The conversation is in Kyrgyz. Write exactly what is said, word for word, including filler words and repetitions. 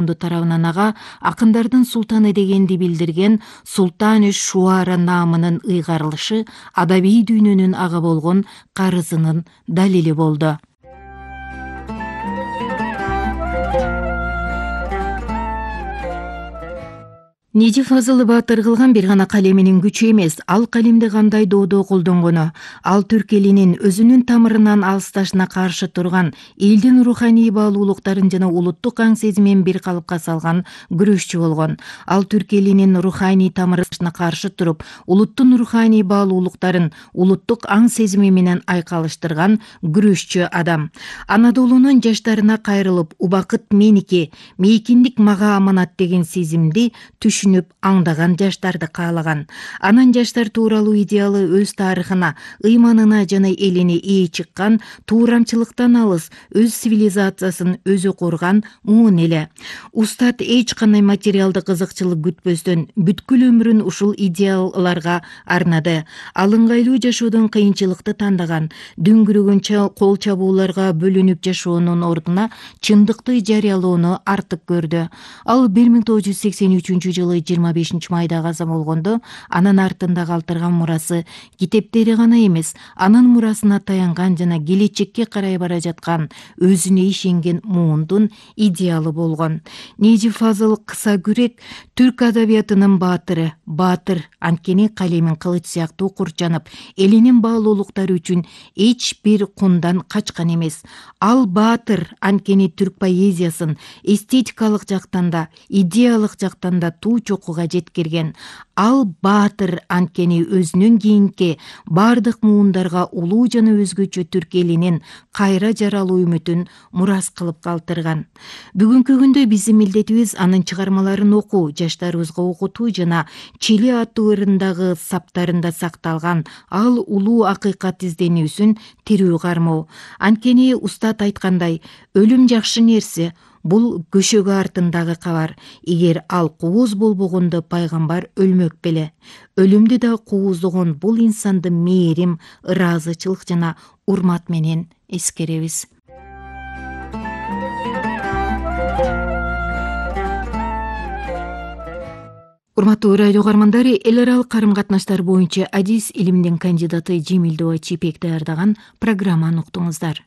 тарабынан ага акындардын султаны дегенди билдирген Султан Шуара наамынын ыйгарылышы адабий дүйнөнүн ага болгон карызынын далили болду. Нежи Фазыл Баатыр кылган бир гана калеминин күчү эмес, ал калемди кандай доодо колдонгону, ал түрк элинин өзүнүн тамырынан алысташына каршы турган, элдин руханий баалуулуктарын жана улуттук аң сезимин бир калыпка салган күрөшчү болгон. Ал түрк элинин руханий тамырына каршы туруп, улуттун руханий баалуулуктарын улуттук аң сезими менен айкалыштырган күрөшчү адам. Анадолунун жаштарына кайрылып, убакыт меники, мейкиндик мага аманат деген сезимди түшүнүп аңдаган жаштарды каалаган. Анан жаштар тууралуу идеалы өз тарыхына, ыйманына жана элине ээ чыккан, туурамчылыктан алыс, өз цивилизациясын өзү курган муун эле. Устат эч кандай материалдык кызыкчылык күтпөстөн бүткүл өмүрүн ушул идеалларга арнады. Ал ыңгайлуу жашоодон кыйынчылыкты тандаган, дүңгүрөгөн кол чабууларга бөлүнүп жашоонун ордуна чындыкты жарыялоону артык көрдү. Ал бир миң тогуз жүз сексен үчүнчү жылы жыйырма бешинчи майда каза болгондо, анын артында калтырган мурасы китептери гана эмес, анын мурасына таянган жана келечекке карай бара жаткан, өзүнө ишенген муундун идеалы болгон. Нежи Фазыл кыса күрек түрк адабиятынын баатыры, баатыр, анткени калемин кылыч сыяктуу курчанып, элинин баалуулуктары үчүн эч бир кундан качкан эмес. Ал баатыр, анткени түрк поэзиясын эстетикалык жактан да, идеялык жактан да туу чокуга жеткирген. Ал баатыр, анткени өзүнүн кийинки бардык муундарга улуу жана өзгөчө түрк элинин кайра жаралуу үмүтүн мурас кылып калтырган. Бүгүнкү күндө биздин милдетибиз анын чыгармаларын окуу, жаштарыбызга окутуу жана Чили аттуу ырындагы саптарында сакталган ал улуу акыйкат изденүүсүн тирүү кармоо. Анткени устат айткандай, өлүм жакшы нерсе, бул көшөгө артындагы кабар. Эгер ал кууз болбогондо пайгамбар өлмөк беле. Өлүмдү да кууздогон бул инсанды мээрим, ыраазычылык жана урмат менен эскеребиз. Урматтуу радио угармандары, эл аралык карым катнаштар боюнча адис илиминин кандидаты Жемилдова Чепек даярдаган программаны уктуңуздар.